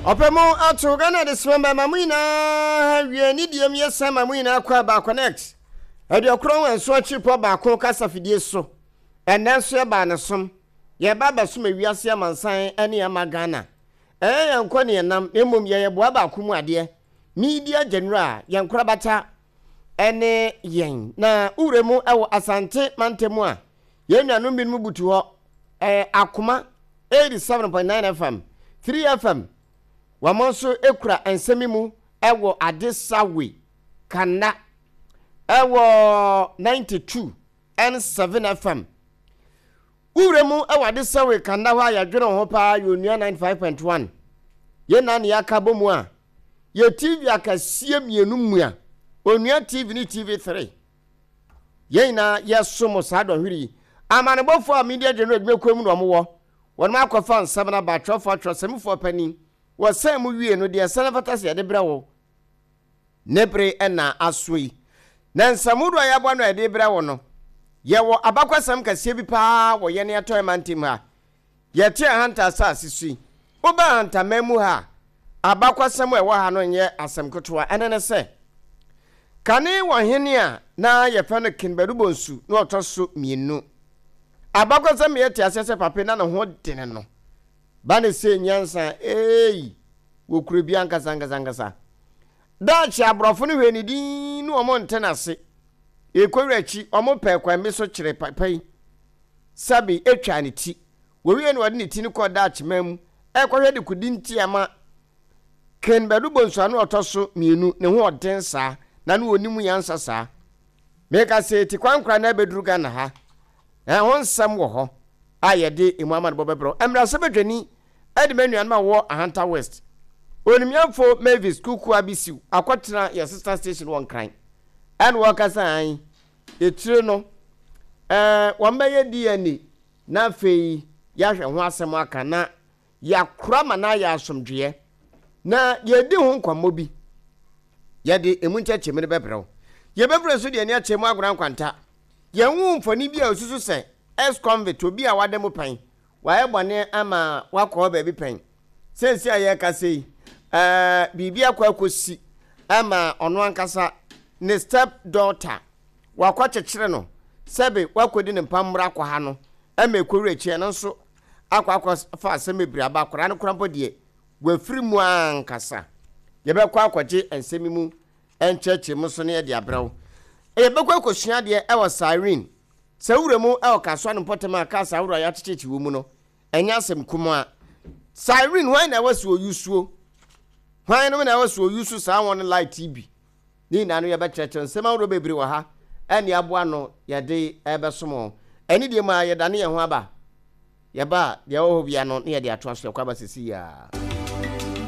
Ɔpɛ mu ato Ghana adesima mma mo nyinaa wie ne deɛ mu yɛ san ma mo nyinaa kɔ aba connect 97 akyiripɔ baako kasa fidie so. Ɛnnɛ nso yɛbaa ne som. Yɛba abɛsom ewiase amansan ne ama Ghana. Ɛnyɛ yɛn nkɔ ne yɛn nam na mmom yɛyɛ boa baako mu adeɛ. Media General yɛn korabata ne yɛn. Na wo wura mu wɔ Asante mantam a, yɛn nuanom binom butu hɔ. Ɛyɛ Akoma 87.9 FM, 3 FM. Wɔn nso kura nsɛm yi mu wɔ Adesawe, Kanna, ɛwɔ 92 and 7 FM. Wo wura mu wɔ Adesawe, Kanna hɔ a yɛdwene wo ho paa yɛ Onua 95.1. Yɛn nyinaa na yɛaka bɔ mu a, yɛ TV akɛseɛ mmienu mua, Onua TV ne TV3. Yɛn nyinaa yɛsom saa dɔnhwere yi. Amanebɔfoɔ a Media General adwumakuo mu na wɔwɔ, wɔnom akɔfa nsɛm no aba, atwerɛfoɔ, atwerɛsɛmfoɔ panin, wɔsan mu wie no, deɛ ɛsɛ na ɛfata sɛ yɛde brɛ wo ne bere na aso yi. Na nsɛm hodoɔ a yɛaboa no a yɛde brɛ wo no, yɛwɔ abakwasɛm kɛseɛ bi paa wɔ yɛn Atɔeɛ mantam ha. Yɛte Ahanta asase so yi, woba Ahantaman mu ha a, abakwasɛm a ɛwɔ ha no nyɛ asɛm ketewa. Ɛno ne sɛ, kane wɔ hene a na yɛfrɛ no King Badu Bonsu na ɔtɔ so mmienu. Abakwasɛm ma yɛte aseɛ sɛ Pape na ne ho dene no ba ne sɛ nyansa eei wɔ kuro bi ankasa ankasa ankasa. Daakye aborɔfo no hwɛɛ ne din ne wɔn nte no ase. Ɛkɔwura akyi, wɔn pɛɛ kwan bi so kyeree papa yi. Sabi twaa ne ti. Wɔwiee no wɔde ne ti no kɔɔ Dutch man mu rekɔhwɛ dekode nti a ɛma Ken Badu Bonsu a na ɔtɔ so mmienu ne ho ɔden saa na na ɔnim nyansa saa. Meka sɛ tikwankora na abɛduru Ghana ha. Na ɛho nsɛm wɔ hɔ a yɛde emu amanebɔ bɛbrɛ wo. Mmarahyɛbadwani de m'anuanom a wɔwɔ Ahanta West, Onimnyamfo Mavis Kuku Abisiw akɔtena yɛn sister station wɔ Nkran ɛna wɔkasa an Etire no, ɛɛ, wɔbɛyɛ DNA na afei yɛahwɛ ho asɛm aka na yɛakora ma no ayɛ asomdwoeɛ na yɛadi ho nkɔmmɔ bi. Yɛde emu nkyɛkyɛmu no bɛbrɛ wo. Yɛbɛfiri nso de ani akyɛ mu agona nkwanta. Yɛnhu mfoni bi a osusu sɛ ex-convict, obi a wada mu pɛn, wayɛ bɔne ama wakɔ hɔ baabi pɛn. Seesei a yɛrekasa yi, ɛɛ, biribi akɔ akɔsi ama ɔno ankasa ne step daughter, wakɔkyekyere no sɛbe wakɔdi ne mpammora akɔ ha no ma ɛkɔwura akyi, ɛno nso akɔ akɔfa asɛm bebree aba. Akwadaa no koraa mpo deɛ, wafiri mu ankasa. Yɛbɛkɔ akɔgye nsɛm yi mu nkyerɛkyerɛmu nso na yɛde abrɛ wo. Yɛbɛkɔ akɔsua adeɛ wɔ Cyrene. Sɛ wowura mu wɔ Kasoa no mpɔtam a cars ahorow a yɛakyekyekye wɔ mu no, ɛnyɛ asɛm kumaa. Siren, hwan na ɛwɔ sɛ ɔyusuo? Hwan nom na ɛwɔ sɛ ɔyusu saa wɔn light yi bi? Ne nyinaa no yɛbɛkyerɛkyerɛ nsɛm ahorow bebree wɔ ha ɛne aboa no yɛde ɛbɛsom wɔn. Ɛne deɛ mu a yɛdane yɛn ho aba. Yɛba a, deɛ ɛwɔ hɔ bia no ne yɛde atoa so yɛkɔ aba sisi yi ara.